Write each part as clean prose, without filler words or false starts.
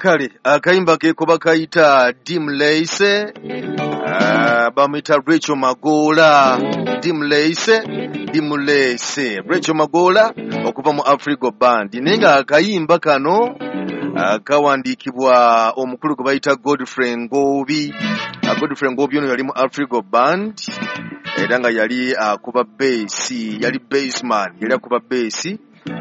Kale akayimba keko bakayita Dimleise, bamuyita Rachel Magoola. Dimleise, Dimleise, Rachel Magoola okuva mu Afrigo Band. Naye nga akayimba kano kawandiikibwa omukulu gwe bayita Godfrey Ngobi. Godfrey Ngobi ono yali mu Afrigo Band era nga yali akuba bass, yali bassman, yali akuba bass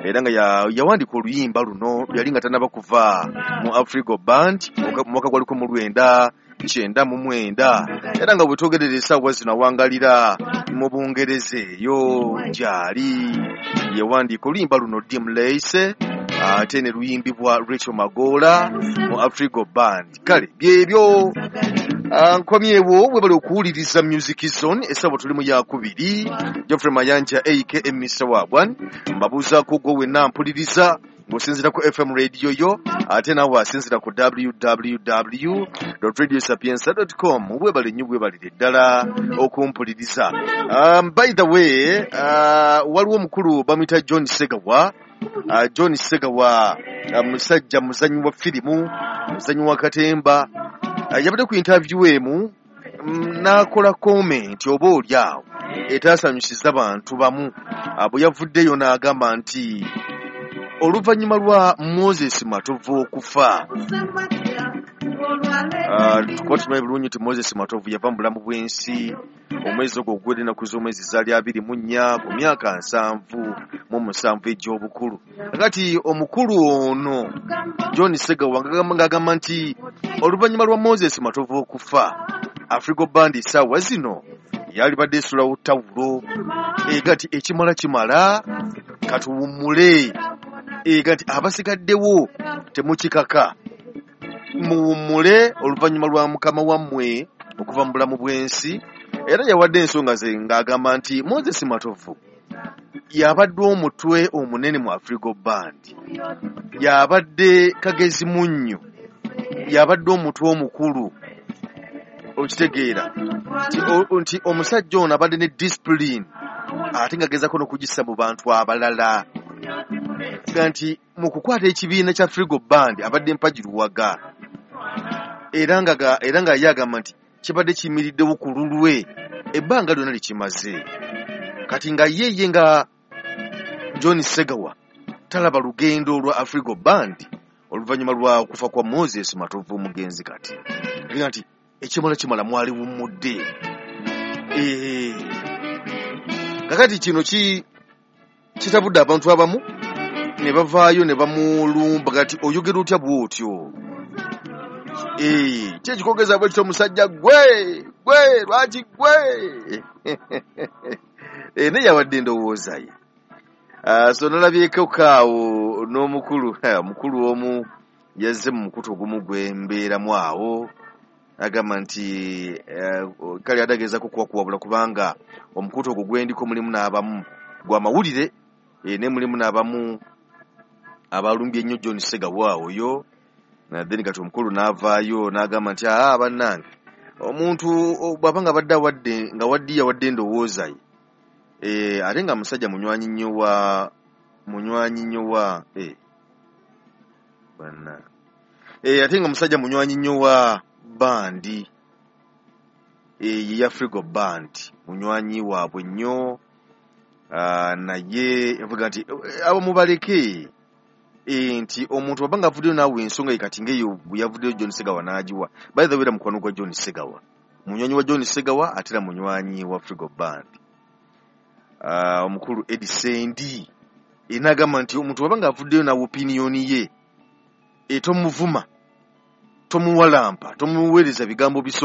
era nga yawandiika oluyimba luno yali nga tannaba kuva mu Afrigo Band mu mwaka gwa 1999, era nga bwetwogerera essaawa zino awangalira mu Bungereza eyo gy'ali. Yawandiika oluyimba luno Dimleise ate ne luyimbibwa Rachel Magoola mu Afrigo Band. Kale byebyo, nkomyewo. Webale okuwuliriza Music Zone. Essaawa tuli mu yakubiri. Geoffrey Mayanja aka Mr Wagwan mbabuuzaako gwe wenna mpuliriza ng'osinziira ku FM radio yo, ate naawe asinziira ku www radiosapienza com. Webale nnyo, webalire ddala okumpuliriza. By the way, waliwo omukulu bamuyita John Segawa. John Segawa musajja muzanyi wa firimu, muzanyi wa katemba. Yabadde ku interview emu n'akola comment oba oli awo etaasanyusiza bantu bamu. Bwe yavuddeyo n'agamba nti oluvannyuma lwa Moses Matovu okufa, kuba tumanyi bulungi nti Moses Matovu yava mu bulamu bw'ensi omwezi ogwo ogw'edda ennaku z'omwezi zaali 24 ku myaka 77 egy'obukulu. Kakati omukulu ono John Segawa ng'agamba nti oluvannyuma lwa Moses Matovu okufa, Afrigo Band essaawa zino yalibadde esulawo tawulo, ega nti ekimala kimala, katuwummule, ega nti abasigaddewo temukikaka, muwummule oluvannyuma lwa mukama wammwe okuva mu bulamu bw'ensi. Era yawadde ensonga ze ng'agamba nti Moses Matovu yabadde omutwe omunene mu Afrigo Band, yabadde kagezi munnyo, yabadde omutwe omukulu, okitegeera nti omusajja ono abadde ne discipline ate ng'agezaako n'okugissa mu bantu abalala, ga nti mu kukwata ekibiina kya Afrigo Band abadde mpagi luwaga, era nga ye agamba nti kibadde kiyimiriddewo ku lulwe ebbanga lyonna likimaze. Kati nga ye nga John Segawa talaba lugendo lwa Afrigo Band oluvannyuma lwa kufa kwa Moses Matovu omugenzi. Kati nga nti ekimala kimala, mwaliwummudde. Kakati kino kitabudde abantu abamu ne bavaayo ne bamulumba, kati oyogera otya bw'otyo? Ki ekikogeza bwe kityo omusajja gwe gwe lwaki gwe? Naye yawadde endowooza ye. So nalabyeko kaawo n'omukulu omukulu omu yazze mu mukutu ogumu gwe mbeeramu awo, agamba nti kale adagezaako kuwakuwabula kubanga omukutu ogwo gwendiko mulimu n'abamu gwa mawulire, ne mulimu n'abamu abalumbye ennyo John Segawa oyo. Then kati omukulu n'avaayo n'agamba nti aa bannange, omuntu bw'aba nga badde awadde nga waddi yawadde endowooza ye, ate nga musajja munywanyi nnyo wa bannange, ate nga musajja munywanyi nnyo wa bandi ye Afrigo Band, munywanyi waabwe nnyo, naye avuga nti abo mubaleke, nti omuntu bw'aba nga avuddeyo naawe ensonga ye kati ng'eyo bwe yavuddeyo John Segawa n'agiwa. By the way, era mukwano gwa John Segawa, munywanyi wa John Segawa ate era munywanyi wa Afrigo Band. Omukulu Eddie Sendi n'agamba nti omuntu bw'aba nga avuddeyo naawe opinion ye, tomuvuma, tomuwalampa, tomuweereza bigambo biso.